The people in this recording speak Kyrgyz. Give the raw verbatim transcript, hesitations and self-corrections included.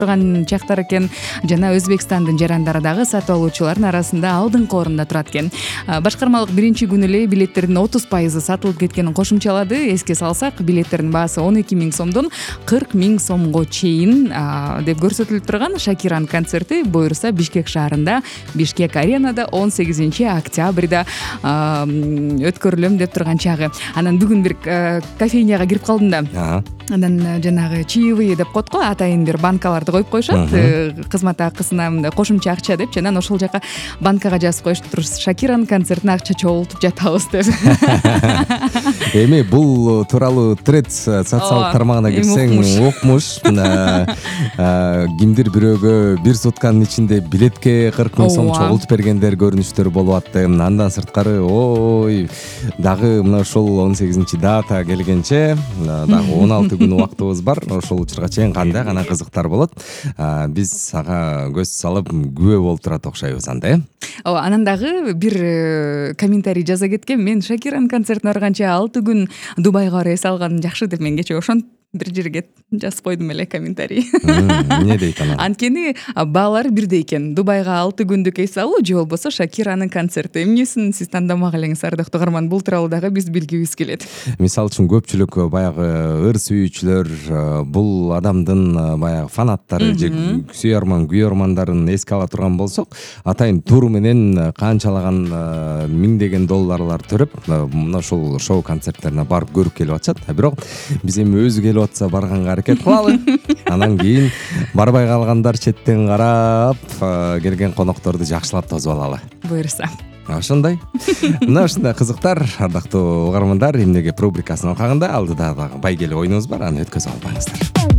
турган чактар экен. Жана Өзбекстандын жарандары дагы сатып алуучулардын арасында алдыңкы орунда турат экен. Башкармалык биринчи күнү эле билеттердин отуз пайызы сатылып кеткенин кошумчалады. Эске салсак, билеттердин баасы он эки миң сомдон кырк миң сомго чейин деп көрсөтүлүп турган. Шакиранын концерти буюрса Бишкек шаарында, Бишкек аренада он сегизинчи октябрда өткөрүлөм деп турган чагы. Анан бүгүн бир кофейняга кирип калдым да. Анан жанагы чаевые деп коет го, атайын бир банкаларды коюп коюшат. Кызмат акысына мындай кошумча акча деп, жана ошол жака банкага жазып коюшуптур. Шакиранын концертине акча чогултуп жатабыз деп. Эми бул тууралуу тред социалдык тармагына кирсең окмуш. Кимдир бирөөгө бир сутканын ичинде билетке кырк миң сом чогултуп бергендер көрүнүштөр болуп атты. Андан сырткары, ой, дагы мына ошол он сегизинчи дата келгенче дагы он алты күн убактыбыз бар. Ошол учурга чейин кандай гана кызыктар болот. Биз ага көз салып күбө болуп турат окшойбуз анда, э? Ооба, анан дагы бир комментарий жаза кеткен. Мен Шакиранын концертине барганча алты күн Дубайга барып эс алганым жакшы деп мен кече ошон бир жерге жазып койдум эле комментарий. Эмне дейт анан? Анткени баалар бирдей экен. Дубайга алты күндүк эс алуу же болбосо Шакиранын концерти. Эмнесин сиз тандамак элеңиз, ардактуу угарман? Бул тууралуу дагы биз билгибиз келет. Мисалы үчүн көпчүлүк баягы ыр сүйүүчүлөр, бул адамдын баягы фанаттары же сүйөрман, күйөрмандарын эске ала турган болсок, атайын тур менен канчалаган миңдеген долларлар төрөп, мына ошол шоу концерттерине барып көрүп келип атышат. Бирок биз эми өзү келип атса барганга аракет кылалы. Анан кийин барбай калгандар четтен карап, келген конокторду жакшылап тосуп алалы. Буюрса. Ошондой. Мына ушундай кызыктар, ардактуу угармандар, эмнеге рубрикасынын алкагында алдыда дагы байгеле оюнубуз бар, аны өткөзүп албаңыздар.